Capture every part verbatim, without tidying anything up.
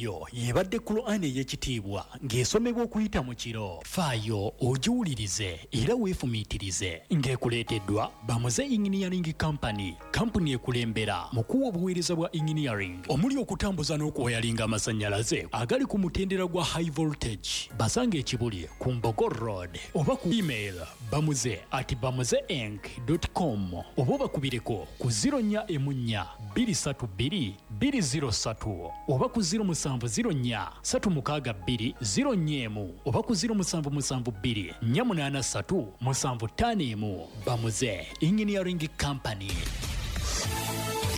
Eyo yebadde Kulaani ey'ekitiibwa ng'esomebwa okuyita mu kiro. Faayo ogiwulirize era weefumiitirize ng'ekuleeteddwa Bamuze Engineering Company, kampuni ekulembera mu kuwa obuweereza bwa engineering omuli okutambuza n'okuwayalinga amasannyalaze agali ku mutendera gwa high voltage. Basanga ekibuli ku Mbogo Road oba ku email bamuze at bamuze inc com oba obakubireko ku zero nnya emu nnya bbiri ssatu bbiri bbiri zero ssatu oba ku zero musanvu zero nnya ssatu mukaaga bbiri zero nnya emu oba ku zero musanvu musanvu bbiri nnya munaana ssatu musanvu ttaano emu. Bamuze Engineering Company.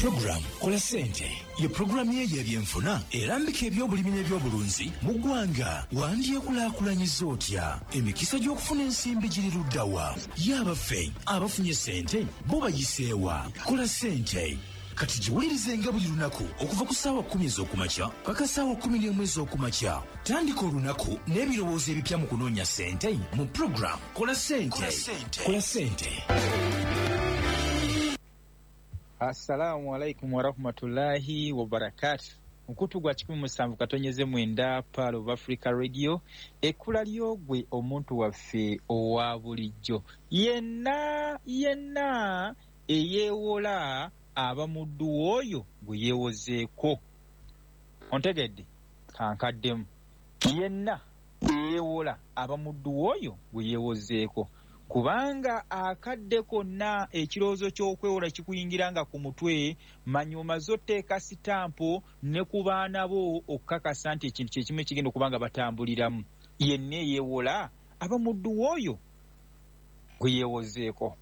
Program Kola Ssente ye pulogulaamu ye y'ebyenfuna erambika ebyobulimi n'ebyobulunzi mu ggwanga. Wandyekulaakulanyiza otya? Emikisa gy'okufuna ensimbi giri ludda wa? Ye abaffe abafunye ssente bo bayiseewa? Kola Ssente kati giwulirizenga buli lunaku okuva ku ssaawa kkumi ez'okumakya paka ssaawa kkumi n'emu ez'okumakya. Tandika olunaku n'ebirowoozo ebipya mu kunoonya ssente mu program Kola Ssente. Kola Ssente. Assalamu alaikum warahmatullahi wabarakatu. Mukutu gwa kikumi musanvu katonyeze mwenda Pearl of Africa Radio, ekkula ly'ogwe omuntu waffe owa bulijjo yenna yenna eyeewola aba muddu w'oyo gwe yeewozeeko. Ontegedde? Kankaddemu. Yenna eyeewola aba muddu w'oyo gwe yeewozeeko, kubanga akadde konna ekirowoozo ky'okwewola kikuyingira nga ku mutwe. Manya omaze oteeka sitampo ne ku baana bo okukakasa nti ekintu kye kimu ekigenda okuba nga batambuliramu. Yenna eyeewola aba muddu w'oyo gwe yeewozeeko.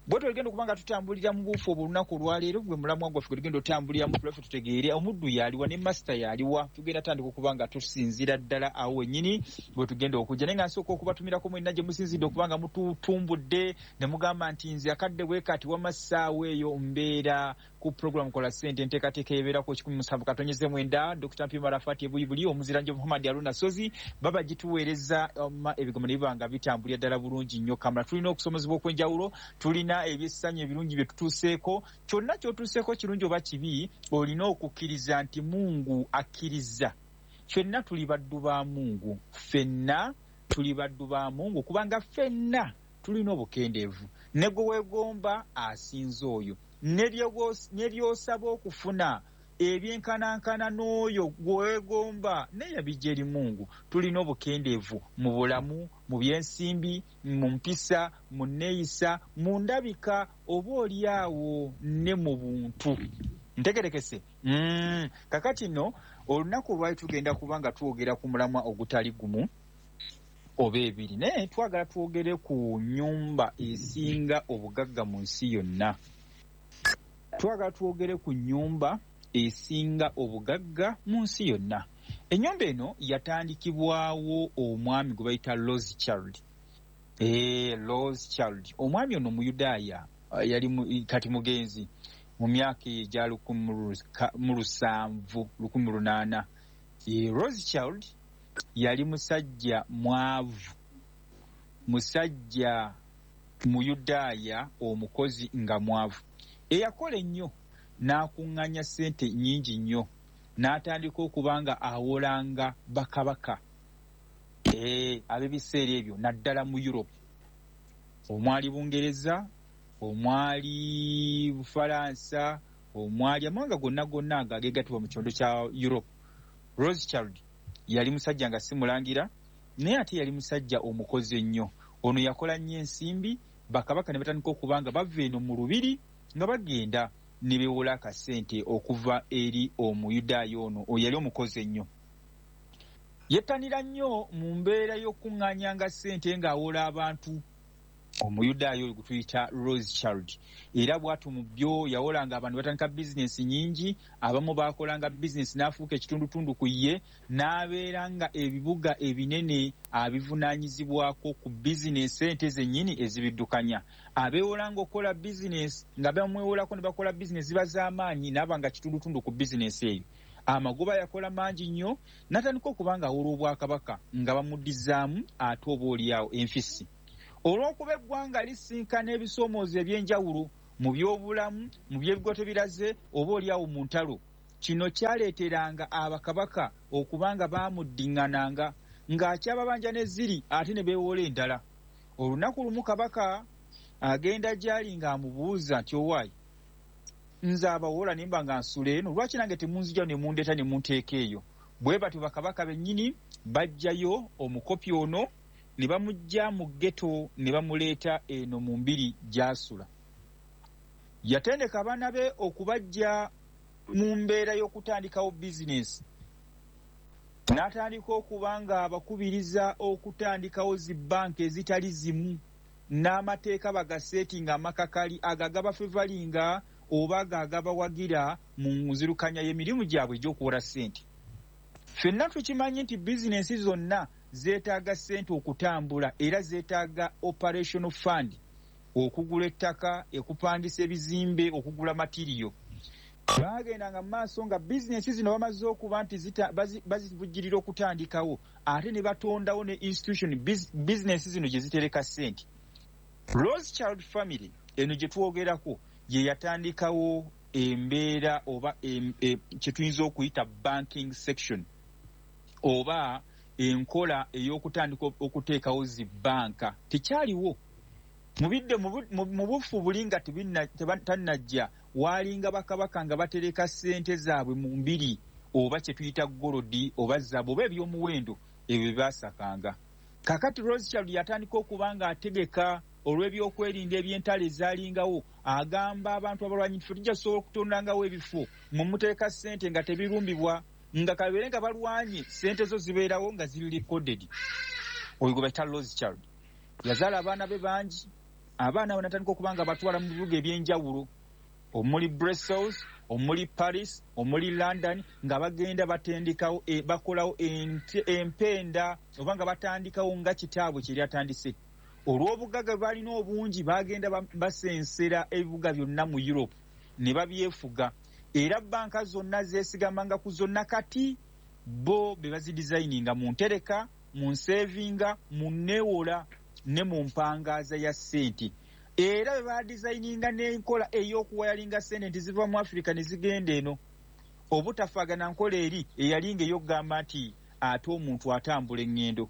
Bwe tugenda okuba nga tutambulira mu buufu obwo olunaku olwaleero, gwe mulamwa gwaffe gwe tugenda otambuliramu tulaffe tutegeere omuddu yaliwa ne masita yaliwa. Tugenda tandika okuba nga tusinziira ddala awo wennyini bwe tugenda okujja. Naye nga nsooka okubatumirako mwenna gye musinzidde okuba nga mututumbudde ne mugamba nti nze akadde bwe kati wamma ssaawa eyo mbeera ku program Kola Ssente, enteekateeka ebeerako kikumi musanvu katonyeze mwenda. Dokita Mpima Rafati Ebuyibuli, omuziranje Muhammad Aruna Sozi baba gituweereza ebigambo ne biba nga bitambulira ddala bulungi nnyo. Kamala tulina okusomozebwa okw'enjawulo, tulina ebyessanyu ebirungi bye tutuuseeko. Kyonna ky'otuuseeko kirungi oba kibi, olina okukkiriza nti Mungu akkiriza. Ffenna tuli baddu ba Mungu, ffenna tuli baddu ba Mungu, kubanga ffenna tulina obukendeevu. Ne gwe weegomba asinza oyo, ne by'osaba okufuna ebyenkanankana n'oyo gwe weegomba naye yabijja eri Mungu. Tulina obukendeevu mu bulamu, mu byensimbi, mu mpisa, mu nneeyisa, mu ndabika, oba oli awo ne mu buntu. Ntegerekese? Mm. Kakati nno olunaku olwali tugenda kuba nga twogera ku mulamwa ogutali gumu oba ebiri, naye twagala twogere ku nnyumba esinga obugagga mu nsi yonna. Twagala twogere ku nnyumba esinga obugagga mu nsi yonna. Ennyumba eno yatandikibwawo omwami gwe bayita Rothschild. Eh, Rothschild. Omwami ono Muyudaaya, yali kati mugenzi mu myaka egya lukumi mu lusanvu lukumi lunaana. Rothschild yali musajja mwavu, musajja Muyudaaya omukozi nga mwavu, eyakola ennyo n'akuŋŋaanya ssente nnyingi nnyo, n'atandika okuba nga awolanga bakabaka ee ab'ebiseera ebyo, naddala mu Europe omwali Bungereza, omwali Bufalansa, omwali amawanga gonna gonna ago ageegattibwa mu kyondo kya Europe. Rothschild yali musajja nga si mulangira, naye ate yali musajja omukozi ennyo. Ono yakola nnyo ensimbi, bakabaka ne batandika okuba nga bava eno mu lubiri nga bagenda ne beewola akasente okuva eri Omuyudaaya ono yali omukozi ennyo. Yettanira nnyo mu mbeera y'okuŋŋaanyanga ssente ng'awola abantu. Omuyudaaya oyo gwe tuyita Rothschild, era bw'atyo mu byo yawolanga abantu, batandika bizinesi nnyingi. Abamu baakolanga bizinesi n'afuuka ekitundutundu ku ye, n'abeera nga ebibuga ebinene abivunaanyizibwako ku bizinesi ssente zennyini ezibiddukanya. Abeewolanga okukola bizinesi nga bamwewolako ne bakola bizinesi ziba z'amaanyi, n'aba nga kitundutundu ku bizinesi eyo. Amagoba yakola mangi nnyo, n'atandika okuba nga awola obwakabaka nga bamuddizaamu ate oba oliawo enfisi. Olw'okuba eggwanga lisinkana ebisoomoozo eby'enjawulo mu byobulamu, mu by'ebigo tebiraze, oba oliawo mu ntalo, Kino kyaleeteranga abakabaka okubanga bamuddiŋŋananga ng'akyababanja ne ziri ate ne beewola endala. Olunaku lumu kabaka agenda gy'ali ng'amubuuza nti, owaayi, nze abawola ne mba nga nsula eno, lwaki nange temunzija ne mundeeta ne munteeka eyo? Bwe batyo bakabaka bennyini bajjayo omukopi ono ne bamuggya mu ghetto ne bamuleeta eno mu mbiri gy'asula. Yatendeka abaana be okubajja mu mbeera y'okutandikawo bizinesi, n'atandika okuba nga abakubiriza okutandikawo zi banka ezitali zimu n'amateeka bagaseetinga amakakali agagabafevalinga oba agagabawagira mu nzirukanya y'emirimu gyabwe egy'okuwola ssente. Ffenna tukimanyi nti bizinensi zonna zeetaaga ssente okutambula, era zeetaaga operational fund, okugula ettaka, okupangisa ebizimbe, okugula matiriyo. Baagendanga mu maaso nga bizinensi zino bamaze okuba nti bazivujjirira okutandikawo, ate ne batondawo ne institution bizinensi zino gye zitereka ssente. Rothschild family eno gye twogerako ye yatandikawo embeera oba kye tuyinza okuyita banking section oba enkola ey'okutandika okuteekawo zi banka. Tekyaliwo mubidde mu bufu buli nga tannajja, waalinga bakabaka nga batereka ssente zaabwe mu mbiri oba kye tuyita golodi oba zaabu oba ebyomuwendo ebyo bye baasakanga. Kaakati Rothschild yatandika okuba nga ategeka olw'ebyokwerinda eby'entalo ezaalingawo, agamba abantu abalwanyi nti ffe tujja kusobola okutondangawo ebifo mwe muteeka ssente nga tebirumbibwa, nga kabeere nga balwanye ssente zo zibeerawo nga ziri recorded. Oyo gwe bayita Rothschild. Yazaala abaana be bangi, abaana abo n'atandika okuba nga batwala mu bibuga eby'enjawulo omuli Brussels, omuli Paris, omuli London, nga bagenda batendekawo e, bakolawo empenda oba nga batandikawo nga kitaabwe kye yatandise. Olw'obugagga bwe balina obungi bagenda basensera ebibuga byonna mu Europe ne babyefuga, era banka zonna zeesigamanga ku zonna. Kati bo be bazidizayininga mu ntereka, mu nsevinga, mu neewola ne mu mpangaaza ya ssente. Era be badizayininga n'enkola ey'okuwayalinga ssente nti ziva mu Africa ne zigenda eno, obutafaagana nkola eri eyalinga ey'okugamba nti ate omuntu atambula eŋŋendo.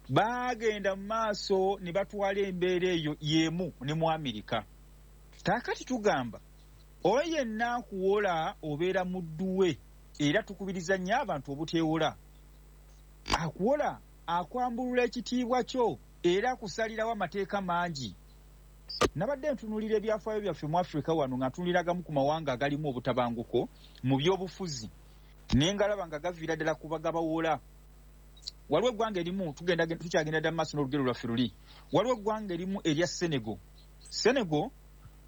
Baagenda mu maaso ne batwala embeera eyo y'emu ne mu Amerika. Kaakati tugamba oyo yenna akuwola obeera muddu we, era tukubiriza nnyo abantu obuteewola. Akuwola akwambulula ekitiibwa kyo era akusalirawo amateeka mangi. Nabadde ntunuulira ebyafaayo byaffe mu Afrika wano nga ntunuuliragamu ku mawanga agalimu obutabanguko mu byobufuzi, naye ngalaba nga gaviira ddala ku bagabawola. Waliwo eggwanga erimu, tugenda tukyagenda ddala mu maaso n'olugero lwaffe luli, waliwo eggwanga erimu erya Senegal. Senegal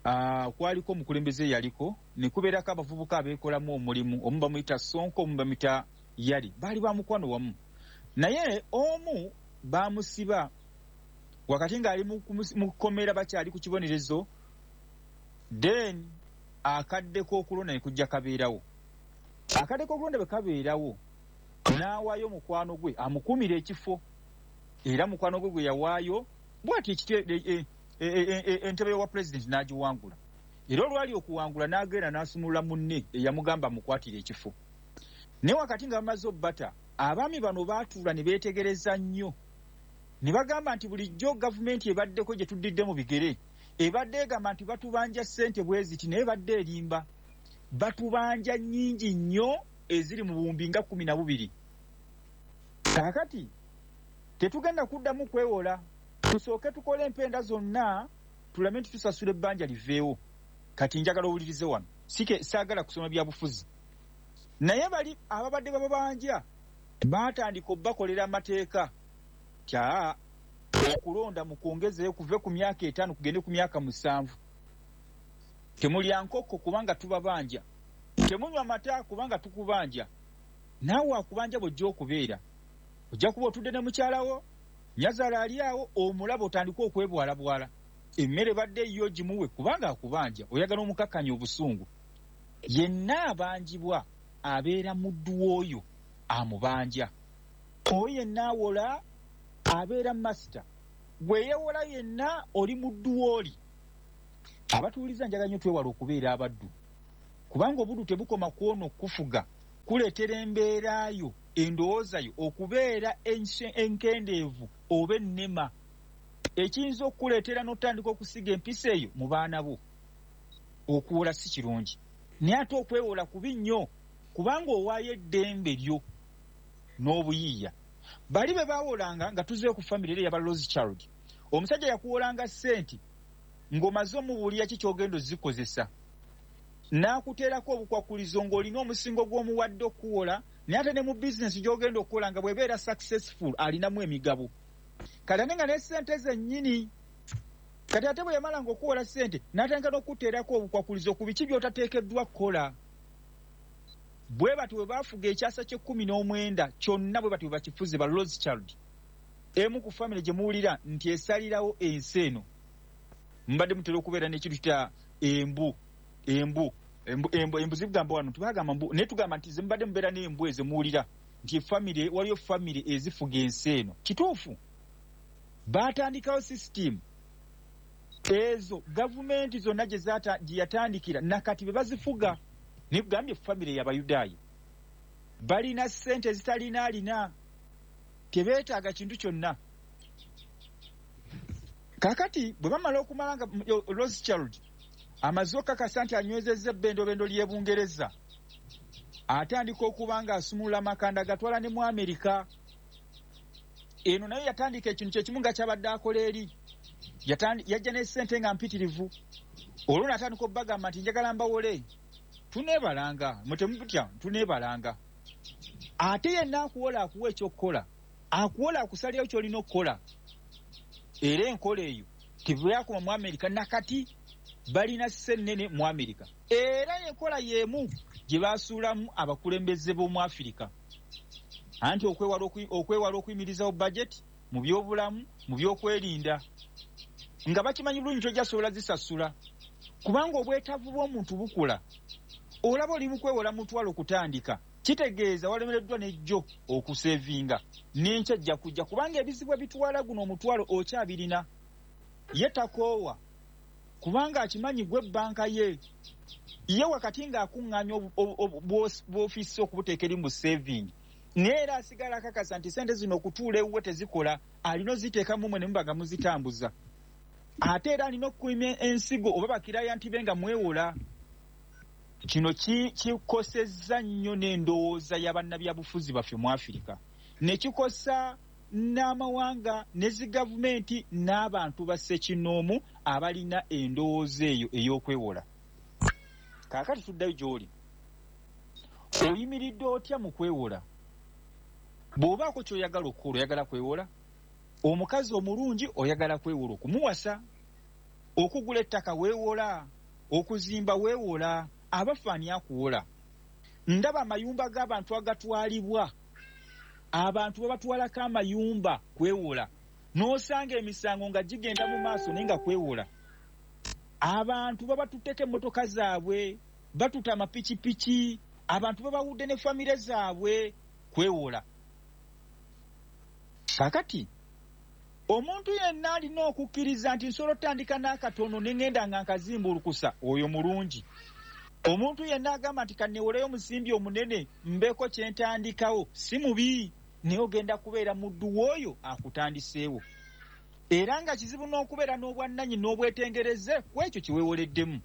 uh, kwaliko omukulembeze eyaliko, ne kubeerako abavubuka abeekolamu omulimu, omu bamuyita Sonko, omu bamuyita Yali, baali ba mukwano wamu. Naye omu baamusiba wakati ng'ali mu kkomera, bakyali ku kibonerezo, then akadde k'okulonda ne kujja kabeerawo. Akadde k'okulonda bwe kabeerawo, n'awaayo mukwano gwe amukuumira ekifo, era mukwano gwe gwe yawaayo bw'ati entebe wa pulezidenti n'agiwangula. Era olwali okuwangula n'agenda n'asumulula munne eyamugamba amukwatire ekifo. Naye wakati nga bamaze obbata, abaami bano baatuula ne beetegereza nnyo ne bagamba nti bulijjo gavumenti ebaddeko gye tuddidde mu bigere ebadde egamba nti batubanja ssente bwe ziti, naye badde erimba, batubanja nnyingi nnyo eziri mu buwumbi nga kkumi na bubiri. Kaakati tetugenda kuddamu kwewola, tusooke tukole empenda zonna tulame nti tusasula ebbanja liveewo. Kati njagala owulirize wano, sike saagala kusoma byabufuzi, naye bali ababadde bababanja baatandika obbakolera amateeka kya okulonda mukwongezeyo kuve ku myaka etaano kugende ku myaka musanvu. Temulya nkoko kubanga tubabanja, temunywa mata kubanga tukubanja. Naawe akubanja bw'ojja okubeera, ojja kuba otudde ne mukyalawo, nnyazaala ali awo, omulaba otandike okwebwalabwala, emmere badde yo gimuwe kubanga akubanja, oyagala omukakkanya obusungu. Yenna abanjibwa abeera muddu w'oyo amubanja. Oyo yenna awola abeera masita, gwe yeewola yenna oli muddu w'oli. Abatuwuliza njagala nnyo twewale okubeera abaddu. Kubanga obuddu tebukoma ku ono okufuga, kuleetera embeera yo, endowooza yo okubeera enkendeevu oba ennema, ekiyinza okukuleetera n'otandika okusiga empisa eyo mu baana bo. Okuwola si kirungi, naye ate okwewola kubi nnyo, kubanga owaayo eddembe lyo n'obuyiiya. Bali be baawolanga nga tuzeeyo ku famire era eyaba Rothschild, omusajja yakuwolanga ssente ng'omaze omubuulira ki ky'ogenda ozikozesa, n'akuteerako obukwakulizo ng'olina omusingo gw'omuwadde okuwola, naye ate ne mu bizinesi gy'ogenda okukola nga bw'ebeera successful alinamu emigabo. Kati ate nga ne ssente zennyini, kati ate bwe yamalanga okuwola ssente n'atandika n'okuteerako obukwakulizo ku biki by'otateekeddwa kukola. Bwe batyo bwe baafuga ekyasa ky'ekkumi n'omwenda kyonna, bwe batyo bwe bakifuze ba Rothschild, emu ku famire gye muwulira nti esalirawo ensi eno. Mbadde mutera okubeera n'ekintu kita embu, embu, embu, embu, embu zigamba wano tubagamba mbu, naye tugamba nti ze mubadde mubeera n'embu ezo muwulira nti famire, waliyo famire ezifuga ensi eno. Kituufu, baatandikawo sisitimu ezo gavumenti zonna gye yatandikira nakati be bazifuga. Nikugambye famire y'Abayudaaya balina ssente ezitalina alina, tebeetaaga kintu kyonna. Kaakati bwe bamala okumala nga Rothschild amaze okukakasa nti anywezezza ebbendobendo ly'e Bungereza, atandika okuba nga asumulula amakanda gatwala ne mu Amerika. Eno nayo yatandika ekintu kyekimu nga kyabadde akola eri, yajja ne ssente nga mpitirivu. Olwo n'atandika obbagamba nti njagala mbawole, tuneebalanga, mwe temutya, tuneebalanga. Ate yenna akuwola akuwa ekyokukola, akuwola akusalirawo ky'olina okukola. Era enkola eyo tebyakoma mu Amerika, nakati balina ssennene mu Amerika. Era enkola y'emu gye basuulamu abakulembeze b'omu Afirika, anti okwewala okuyimirizawo bajeti mu byobulamu, mu byokwerinda, nga bakimanyi bulungi tojja sobola zisasula, kubanga obwetaavu bw'omuntu bukula. Olaba oli mu kwewola mutwalo okutandika, kitegeeza walemereddwa n'ejjo okusevinga, n'enkya ajja kujja, kubanga ebizibu ebitwala guno omutwalo okyabirina. Ye takoowa, kubanga akimanyi gwe banka ye. Ye wakati ng'akuŋŋaanya bw'ofiisi okubuteeka eri mu saving, naye era asigala akakasa nti ssente zino okutuula ewuwe tezikola, alina oziteekamu mmwe ne muba nga muzitambuza. Ate era alina okukuuma ensigo oba bakiraya nti be nga mwewola. Kino kikosezza nnyo n'endowooza ya bannabyabufuzi baffe mu Afirika, ne kikosa n'amawanga ne zi gavumenti n'abantu ba ssekinnoomu abalina endowooza eyo ey'okwewola. Kaakati tuddayo gy'oli, oyimiridde otya mu kwewola? Bw'obaako ky'oyagala okukola, oyagala kwewola? Omukazi omulungi oyagala kwewola okumuwasa, okugula ettaka weewola, okuzimba weewola, abafa ani akuwola? Ndaba amayumba g'abantu agatwalibwa, abantu babatwalako amayumba kwewola, n'osanga emisango nga gigenda mu maaso naye nga kwewola. Abantu babatutteko emmotoka zaabwe, batuta amapikipiki, abantu babawudde ne famire zaabwe kwewola. Kaakati omuntu yenna alina okukkiriza nti nsobola otandika n'akatono ne ŋŋenda nga nkazimbulukusa, oyo mulungi. Omuntu yenna agamba nti kanneewoleyo omusimbi omunene mbeeko kye ntandikawo, si mubi, naye ogenda kubeera muddu w'oyo akutandiseewo. Era nga kizibu n'okubeera n'obwannannyini n'obwetengereze ku ekyo kye weewoleddemu.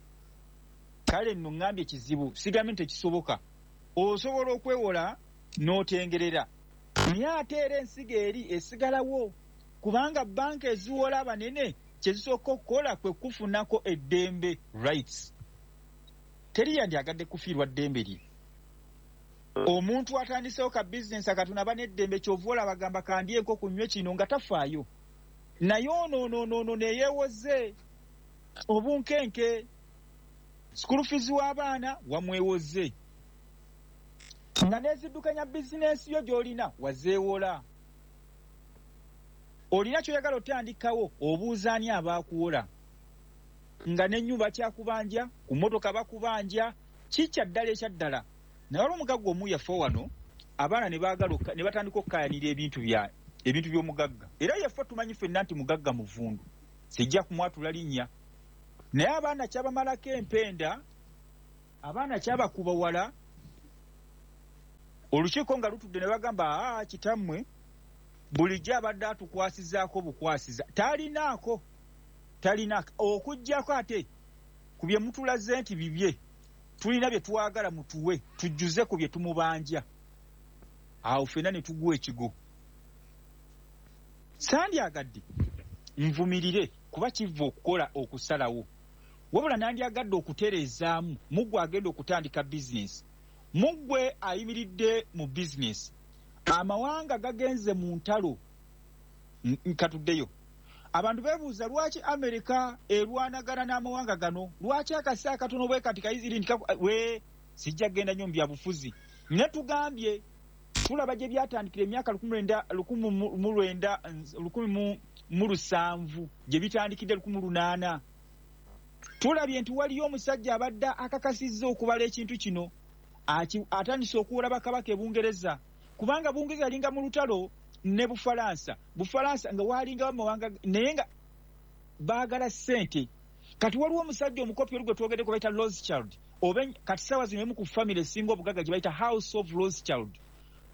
Kale nno ŋŋambye kizibu, sigambye nti tekisoboka. Osobola okwewola n'otengerera, naye ate era ensigo eri esigalawo, kubanga banka eziwola abanene kye zisooka okukola kwe kufunako eddembe, rights. Teri yandyagadde kufiirwa ddembe lye. Omuntu atandiseewo ka bizinesi akatono aba n'eddembe, ky'ova olaba agamba kandye enkoko nnywe kino nga tafaayo. Naye ono ono ono ono neyeewoze obunkenke, school fees w'abaana wamwewoze, nga n'eziddukanya bizinesi yo gy'olina wazeewola. Olina ky'oyagala otandikawo, obuuza ani abaakuwola, nga n'ennyumba kyakubanja, ku mmotoka bakubanja, kikya ddala ekya ddala. Naye waliwo omugagga omu yafa wano, abaana ne baagala ne batandika okukaayanira ebintu bya ebintu by'omugagga. Era yafa tumanyi ffenna nti mugagga muvundu, sijja kumwatula linnya. Naye abaana kyabamalako empenda, Abaana kyabakuba wala, olukiiko nga lutudde ne bagamba, aa kitammwe bulijjo abadde atukwasizaako bukwasiza, talinaako talinaako okuggyako ate ku bye mutulaze nti bibye, tulina bye twagala mutuwe tujjuze ku bye tumubanja. Awo ffenna ne tuguwa ekigo. Sandyagadde nvumirire kuba kiva okukola okusalawo, wabula nandyagadde okutereezaamu muggwe agenda okutandika bizinesi, muggwe ayimiridde mu bizinesi. Amawanga gagenze mu ntalo, nkatuddeyo. Abantu beebuuza lwaki Amerika erwanagana n'amawanga gano, lwaki akasi akatono bwe kati kayiziri nti we sijja kugenda nnyo mu byabufuzi. Ne tugambye tulaba gye byatandikira emyaka lukumi mu lwenda lukumi mu lusanvu gye bitandikidde lukumi lunaana. Tulabye nti waliyo omusajja abadde akakasizza okubala ekintu kino, atandise okuwola bakabaka e Bungereza, kubanga Bungereza yalinga mu lutalo ne Bufalansa, Bufalansa nga walinga amawanga naye nga baagala ssente. Kati waliwo omusajja omukopi oli gwe twogeddeko bayita Rothschild, oba kati ssaawa zino emu ku famire esinga obugagga gye bayita House of Rothschild.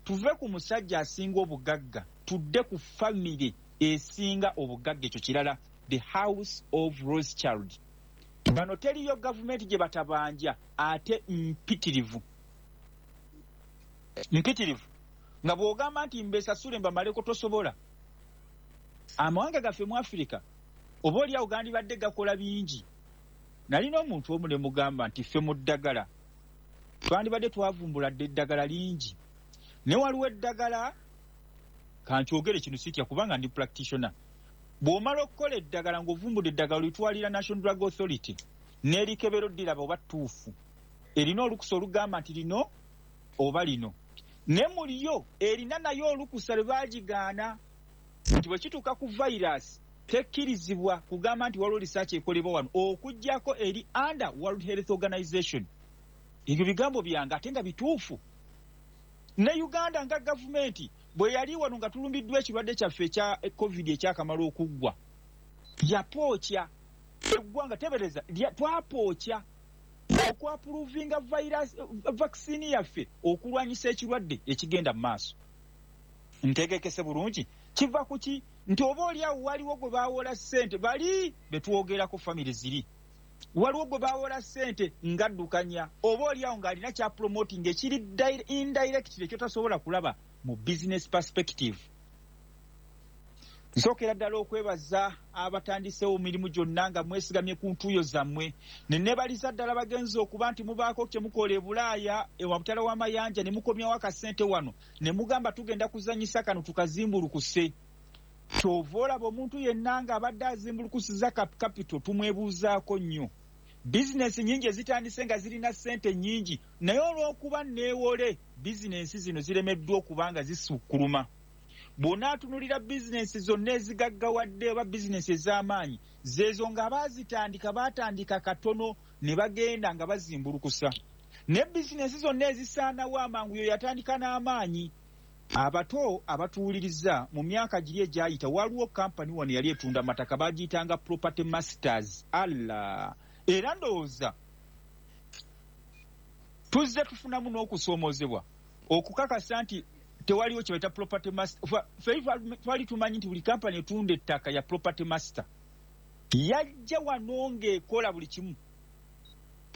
Tuve ku musajja asinga obugagga tudde ku famire esinga obugagga, ekyo kirala, the House of Rothschild. Bano teriyo gavumenti gye batabanja ate mpitirivu mpitirivu nga bw'ogamba nti mbesasule mbamaleko tosobola. Amawanga gaffe mu Afirika oba oliawo gandibadde gakola bingi. Nalina omuntu omu ne mugamba nti ffe mu ddagala twandibadde twavumbula dda eddagala lingi, ne waliwo eddagala, kankyogere kino sitya kubanga ndi practitioner. Bw'omala okukola eddagala ng'ovumbudde eddagala olitwalira National Drug Authority n'erikebera oddiraba oba ttuufu, erina olukusa olugamba nti lino oba lino, ne muliyo erina nayo olukusa lwe baagigaana nti bwe kituuka ku virus tekkirizibwa kugamba nti waliwo research ekolebwa wano okuggyako eri under World Health Organization. Ebyo bigambo byange ate nga bituufu. Ne Uganda nga gavumenti bwe yali wano nga tulumbiddwa ekirwadde kyaffe ekya COVID ekyakamala okuggwa, yapookya eggwanga, tebereza twapookya okwapuruvinga virus vaccine yaffe okulwanyisa ekirwadde ekigenda mu maaso. Ntegekese bulungi, kiva ku ki? Nti oba oli awo waliwo gwe baawola ssente, bali be twogerako famire ziri, waliwo gwe baawola ssente ng'addukanya, oba oli awo ng'alina kya promoting ekiri indirect ekyotasobola kulaba mu business perspective. Nsookera ddala okwebaza abatandiseewo mirimu gyonna nga mwesigamye ku ntuuyo zammwe, ne neebaliza ddala bagenzi okuba nti mubaako kye mukola e Bulaaya ewabutala w'amayanja ne mukomyawo akasente wano ne mugamba tugenda kuzannyisa kano tukazimbulukuse. Ky'ova olaba omuntu yenna ng'abadde azimbulukusiza capital tumwebuuzaako nnyo. Bizinensi nnyingi ezitandise nga zirina ssente nnyingi, naye olw'okuba neewole bizinensi zino ziremeddwa okuba nga zisukkuluma. Bw'onaatunulira bizinensi zonna ezigaggawadde oba bizinensi ez'amaanyi, zeezo nga baazitandika baatandika katono ne bagenda nga bazimbulukusa. Ne bizinensi zonna ezisaanawo amangu yo yatandika n'amaanyi. Abato abatuwuliriza mu myaka giri egyayita waliwo kampani wano yali etunda amataka bagiyitanga Property Masters. Allah, era ndowooza tuzze tufunamu n'okusoomoozebwa okukakasa nti tewaliwo kye bayita Property Master. Ffe twali tumanyi nti buli kampani etunda ettaka ya Property Master. Yajja wano ng'ekola buli kimu,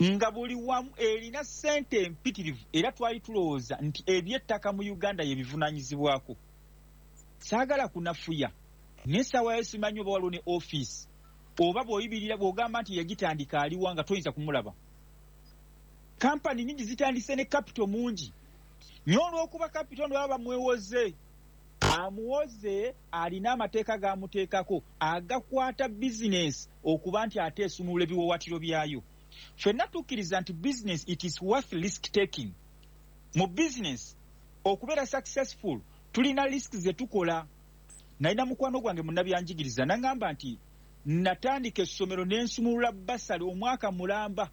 nga buli wamu erina ssente empitirivu, era twali tulowooza nti ebyettaka mu Uganda ye bivunaanyizibwako. Saagala kunafuya, naye essaawa yo simanyi oba waliwo ne ofiisi oba bw'oyibirira bw'ogamba nti yagitandika aliwa nga toyinza kumulaba. Kampani nnyingi zitandise ne capital mungi, naye olw'okuba capital ono baba bamwewoze, amuwoze alina amateeka g'amuteekako agakwata bizinesi okuba nti ate esumulula ebiwaawaatiro byayo. Ffenna tukkiriza nti business it is worth risk taking. Mu business okubeera successful tulina risk ze tukola. Nalina mukwano gwange munnabyanjigiriza n'aŋŋamba nti natandika essomero ne nsumulula basale omwaka mulamba,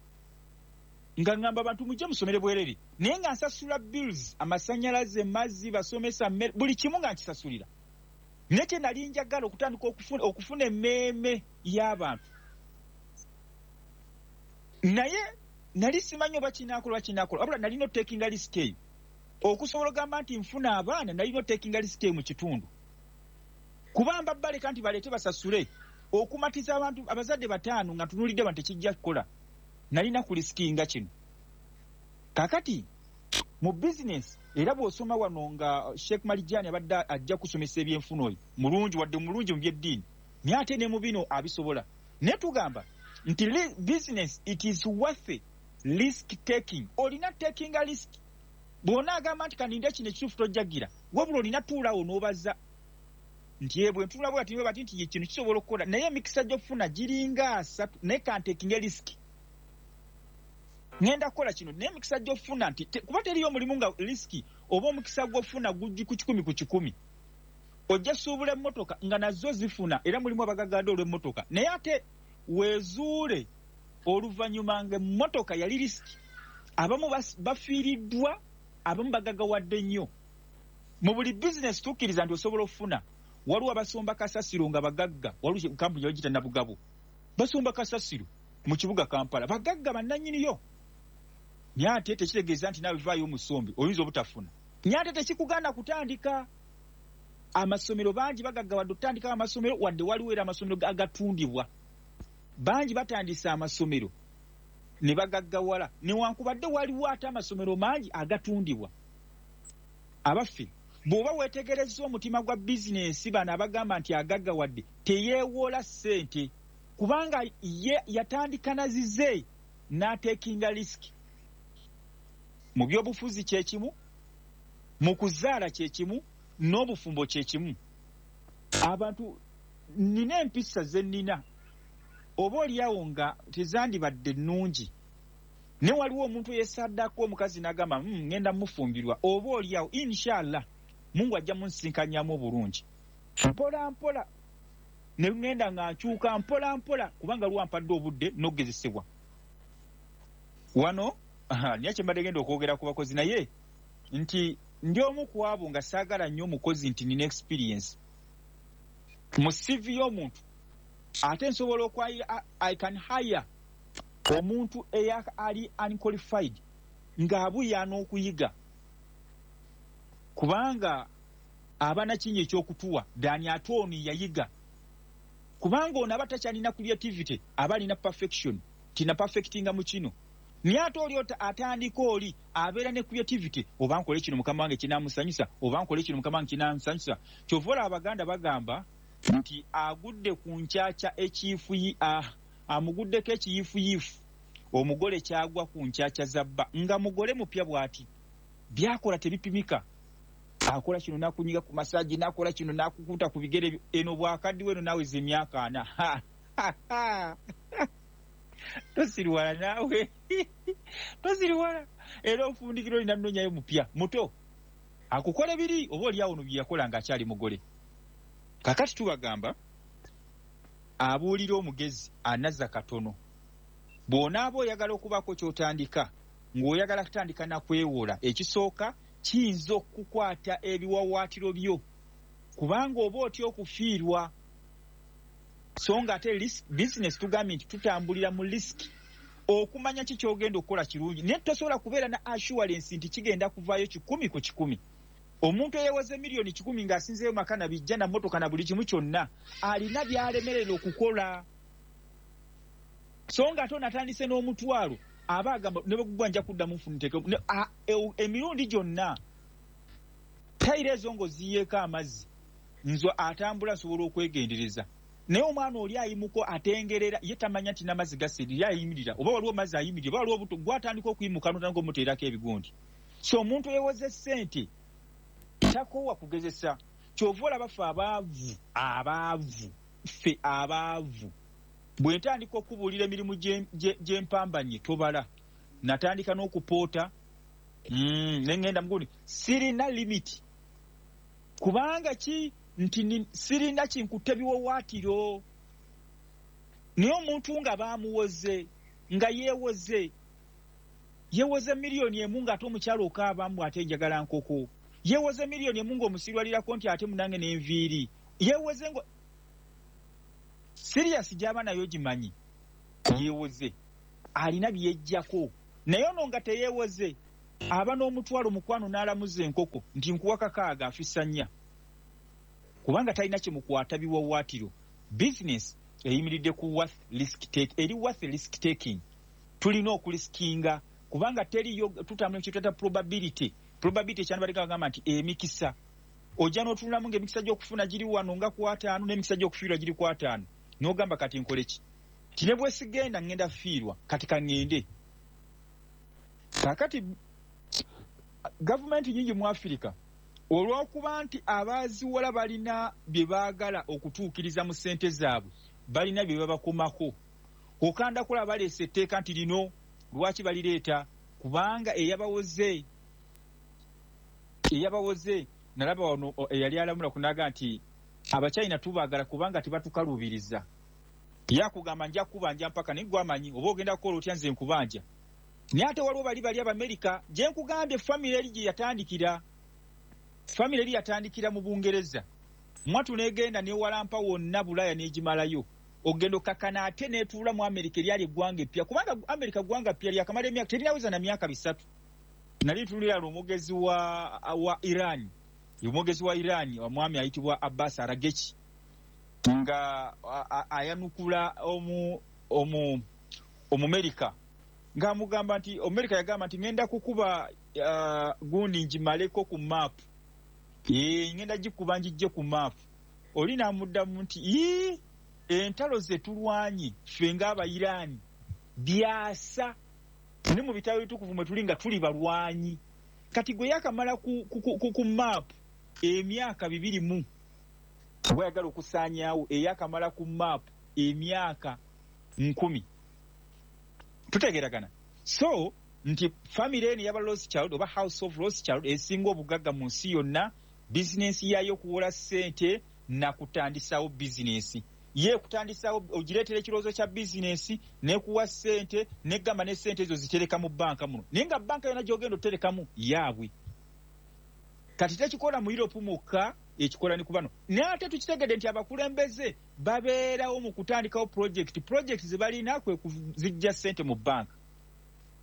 nga ŋŋamba abantu mujje musomere bwerere, naye nga nsasula bills, amasannyalaze, mazzi, basomesa, buli kimu nga nkisasulira. Naye kye nali njagala okutandika okufuna, okufuna emmeeme y'abantu. Naye Nali simanyi oba kinaakola oba kinaakola, wabula nalina otekinga risk eyo. Okusobola ogamba nti nfuna abaana, nalina otekinga risk eyo mu kitundu. Kubamba baleka nti baleete basasule okumatiza abantu abazadde bataano nga ntunuulidde bantu tekijja kukola. Nalina kulisikinga kino. Kaakati mu bizinesi era bw'osoma wano nga Sheikh Marijani abadde ajja kusomesa ebyenfuna, oyo mulungi, wadde mulungi mu byeddiini, naye ate ne mu bino abisobola. Naye tugamba nti business, it is worth risk taking. Olina taking a risk. Bw'onaagamba nti kaninde kino ekituufu, tojjagira, wabula olina tuulaawo n'obaza nti ye bwe ntunula bwe bati bati nti ye kino kisobola okukola, naye emikisa gy'okufuna giringa asatu, naye kantekinge risk, ŋŋenda kukola kino, naye emikisa gy'okufuna nti kuba teriyo omulimu nga risk oba omukisa gw'ofuna gujji ku kikumi ku kikumi. Ojja suubula emmotoka nga nazo zifuna, era mulimu abagagadde olw'emmotoka, naye ate weezuule oluvannyuma nga emmotoka yali risk. Abamu bafiiriddwa, abamu bagagawadde nnyo. Mu buli bizinesi tukkiriza nti osobola okufuna. Waliwo abasomba kasasiro nga bagagga, waliwo kampuni bagiyita Nabugabo, basomba kasasiro mu kibuga Kampala, bagagga bannannyiniyo. Naye ate tekitegeeza nti naawe vaayo omusombe oyinza obutafuna. Naye ate tekikugaana kutandika amasomero. Bangi bagaggawadde okutandikawo amasomero, wadde waliwo era amasomero agatundibwa. Bangi batandise amasomero ne bagaggawala, newankubadde waliwo ate amasomero mangi agatundibwa. Abaffe, bw'oba weetegerezza omutima gwa bizinensi, bano abagamba nti agaggawadde teyeewola ssente, kubanga ye yatandika na zize n'atekinga risk. Mu byobufuzi kyekimu, mu kuzaala kyekimu, n'obufumbo kyekimu. Abantu, nina empisa ze nnina oba oliawo nga tezandibadde nnungi, naye waliwo omuntu eyesaddako omukazi n'agamba, mm, ŋŋenda mufumbirwa, oba oliawo inshallah Mungu ajja munsinkanyamu obulungi. Mpola mpola ne ŋŋenda nga nkyuka mpola mpola, kubanga lwampadde obudde n'okugezesebwa wano. Naye kye mbadde genda okwogera ku bakozi, naye nti ndi omu ku abo nga saagala nnyo omukozi nti nina experience mu C V y'omuntu, ate nsobola okwayira. I can hire omuntu eya ali unqualified ng'abuyaana okuyiga, kubanga aba nakinyi ekyokutuwa dani, ate ono yayiga, kubanga ono aba takyalina creativity, aba alina perfection, tina perfectinga mu kino. Naye ate oli atandika, oli abeera ne creativity, oba nkole kino mukama wange kinamusanyusa, oba nkole kino mukama wange kinamusanyusa. Kyova olaba Abaganda bagamba nti agudde ku nkyakya ekiifuyi, amuguddeko ekiyiifuyiifu. Omugole kyagwa ku nkyakya za bba nga mugole mupya bw'ati, byakola tebipimika. Akola kino nakunyiga ku massage, nakola kino nakukuta ku bigere. Eno bwakaddiwa eno naaweza emyaka ana, tosiriwala naawe, tosiriwala, era ofundikira olina nnonyayo mupya muto akukola biri oba oliawo no byeyakola ng'akyali mugole. Kakati tubagamba abuulira omugezi anazza katono. Bw'onaaba oyagala okubaako ky'otandika, ng'oyagala kutandika nakwewola, ekisooka kiyinza okukwata ebiwawaatiro byo, kubanga oba otya okufiirwa. So nga ate bizinesi tugambye nti tutambulira mu risk. Okumanya ki kyogenda okukola kirungi, naye tosobola kubeera na assurance nti kigenda kuvaayo kikumi ku kikumi. Omuntu eyewoze miliyoni kikumi ng'asinzeeyo maka na bijja na mmotoka na buli kimu kyonna, alina by'alemerera okukola. So nga ate onatandise n'omutwalo, aba agamba ne bwegugwa nja kuddamu nfuniteeke emirundi gyonna. Tayiro ezo ng'oziyeeko amazzi, nze atambula nsobola okwegendereza, naye omwana oli ayimuko atengerera, ye tamanya nti n'amazzi gasirira, ayimirira oba waliwo mazzi ayimirira oba waliwo obuto, gwatandika okuyimuka notandika omuteerako ebigundi. So omuntu eyewoze ssente takoowa kugezesa. Kyova olaba ffe abaavu, abaavu, ffe abaavu, bwe ntandika okubuulira emirimu gyempambanye, tobala. Natandika n'okupoota mm, neŋŋenda mugundi, sirina limit, kubanga ki nti sirina kinkutte biwawaatiro. Naye omuntu nga baamuwoze, nga yeewoze, yeewoze miliyoni emu, ng'ate omukyalo okaabamu ate njagala nkoko, yeewoze miliyoni emu ng'omusirwalirako nti ate munange n'enviiri, yeewoze ngo serious gy'aba nayo gimanyi, yeewoze alina byejjako. Naye ono nga teyeewoze aba n'omutwalo mukwano n'alamuza enkoko nti nkuwa kakaaga afisa nnya, kubanga talina kyemukwata biwawaatiro. Bizinesi eyimiridde ku worth risk take, eri worth risk taking. Tulina okulisikinga kubanga teriyo, tutambula kyetuyita probability. Probability kyandibadde bagamba nti emikisa ojja n'otunulamu ng'emikisa gy'okufuna giri wano nga ku ataano n'emikisa gy'okufiirwa giri ku ataano, n'ogamba kati nkole ki? Ti ne bwe sigenda ŋŋenda fiirwa, kati ka ŋŋende. Kaakati gavumenti nnyingi mu Afirika olw'okuba nti abaaziwola balina bye baagala okutuukiriza mu ssente zaabwe, balina bye babakomako. Okanda kulaba baleese etteeka nti lino lwaki balireeta, kubanga eyabawoze eyabawoze nalaba wano eyali alamula kunaga nti Abachina tubaagala kubanga tebatukaluubiriza. Yakugamba nja kubanja mpaka naye gwe amanyi oba ogenda kukola otya, nze nkubanja. Naye ate waliwo bali bali Abamerika gye nkugambye famire eri gye yatandikira. Famire eri yatandikira mu Bungereza, mwatu n'egenda n'ewalampa wonna Bulaaya n'egimalayo, ogenda okkakkana ate n'etuula mu Amerika eryali eggwanga eppya, kubanga Amerika ggwanga ppya lyakamala emyaka terinaweza na myaka bisatu. Nali ntunuulira omwogezi wa, wa Iran, omwogezi wa Iran omwami ayitibwa Abbas Araghchi nga ayanukula omu omu Omumerika ng'amugamba nti Omumerika yagamba nti ŋŋenda kukuba uh, gundi ngimaleko ku maapu, ee ŋŋenda gikuba ngijje ku maapu. Oli n'amuddamu nti ii entalo ze tulwanye ffe ng'Abayiraani byasa ne mu bitabo ebitukuvu mwe tuli nga tuli balwanyi. Kati gwe yakamala ku, ku, ku, ku maapu emyaka bibiri mu oba yagala okusaanyaawo eyakamala ku maapu emyaka nkumi. Tutegeeragana. So nti famire eno ey'aba Rothschild oba House of Rothschild esinga obugagga mu nsi yonna, bizinensi yaayo okuwola ssente na kutandisaawo bizinensi. Ye kutandisaawo ogireetera ekirowoozo kya bizinensi n'ekuwa ssente n'egamba ne ssente ezo zitereka mu bbanka muno, naye nga bbanka yonna gy'ogenda oterekamu yaabwe. Kati tekikola mu Europe mwokka, ekikola ne ku bano. Naye ate tukitegedde nti abakulembeze babeerawo mu kutandikawo project. Project ze balina kwe kuzijja ssente mu bbanka,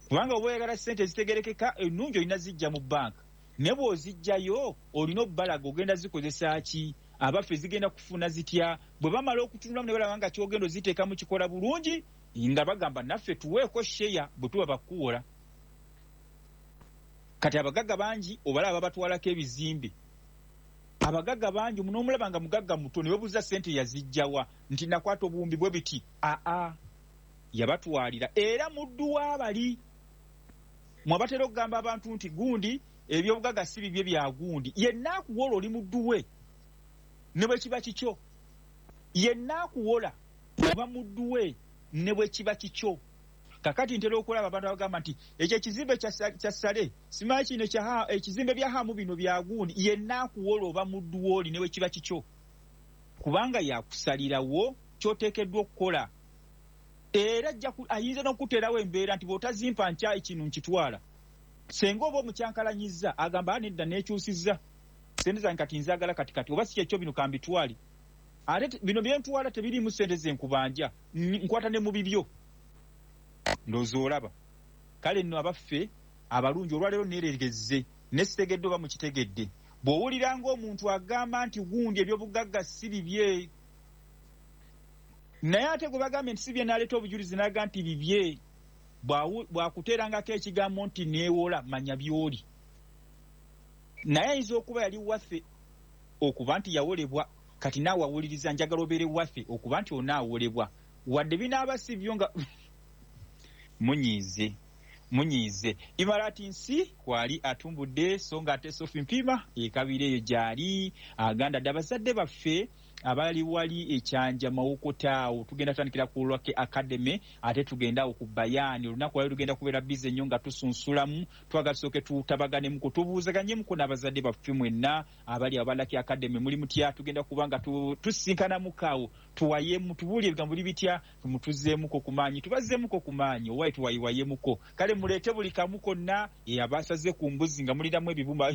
kubanga oba oyagala ssente ezitegerekeka ennungi olina zijja mu bbanka, naye bw'ozijjayo olina obbalaga ogenda zikozesa ki, abaffe zigenda kufuna zitya. Bwe bamala okutunulamu ne balaba nga ky'ogenda oziteekamu kikola bulungi, nga bagamba naffe tuweeko sheya bwe tuba bakuwola. Kati abagagga bangi obalaba babatwalako ebizimbe. Abagagga bangi n'omulaba nga mugagga muto ne weebuuza ssente yazijjawa nti nakwata obuwumbi bwe biti. Aa yabatwalira era muddu w'abali. Mwabatera okugamba abantu nti gundi ebyobugagga si bibye bya gundi, yenna akuwola oli muddu we ne bwe kiba kikyo. Yenna akuwola oba muddu we ne bwe kiba kikyo. Kakati ntera okulaba abantu abagamba nti ekyo ekizimbe kya Sale simanyi kino ekizimbe bya Hamu bino bya gundi. Yenna akuwola oba muddu w'oli ne bwe kiba kikyo, kubanga yakusalirawo ky'oteekeddwa okukola. Era ayinza n'okuteerawo embeera nti bw'otazimpa nkya kino nkitwala. Senga oba omukyankalanyizza agamba nedda neekyusizza ssente zange kati nzaagala kati kati oba si kyekyo bino kambitwale, ate bino bye ntwala tebiriimu ssente ze nkubanja, nkwata ne mu bibyo. Ndowooza olaba. Kale nno abaffe abalungi olwaleero neeregezze ne sitegedde oba mukitegedde. Bw'owulira ng'omuntu agamba nti gundi ebyobugagga si bibye, naye ate gwe bagambye nti si bye n'aleeta obujulizi n'aga nti bibye, bw'akuteerangako ekigambo nti neewola, manya by'oli. Naye ayinza okuba yali waffe okuba nti yawolebwa, kati naawe awuliriza njagala obeere waffe okuba nti onaawolebwa, wadde binaaba si byo nga munyiize munyiize. Imarati nsi kwali atumbudde, so nga ate Sophie Mpima ekabira eyo gy'ali aganda dde abazadde baffe abali wali ekyanja Mawokota awo. Tugenda tutandikira ku Lwake Academy ate tugenda awo ku Bayaani. Olunaku lwali lugenda kubeera bize nnyo nga tusunsulamu, twagala tusooke tutabaganemu, tubuuzaganyemuko n'abazadde baffe mwenna abali aba Lwake Academy. Muli mutya? Tugenda kuba nga tusisinkanamuko awo, tuwayemu, tubuulye ebigambo buli bitya, mutuzeemuko ku maanyi, tubazzeemuko ku maanyi, owaye tuwayiwayemuko. Kale muleete buli kamu konna abasaze ku mbuzi nga mulinamu ebibumba.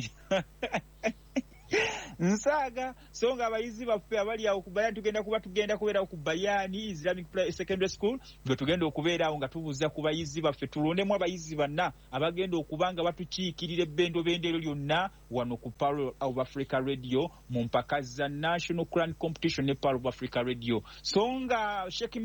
Nsaaga. So nga abayizi baffe abali awo ku Bayani, tugenda kuba tugenda kubeerawo ku Bayani Islamic Secondary School, bwe tugenda okubeera awo nga tubuuza ku bayizi baffe, tulondemu abayizi banna abagenda okuba nga batukiikirira ebbendobendo eryo lyonna wano ku Pearl of Africa Radio mu mpaka za National Quran Competition ne Pearl of Africa Radio. So nga Sheikh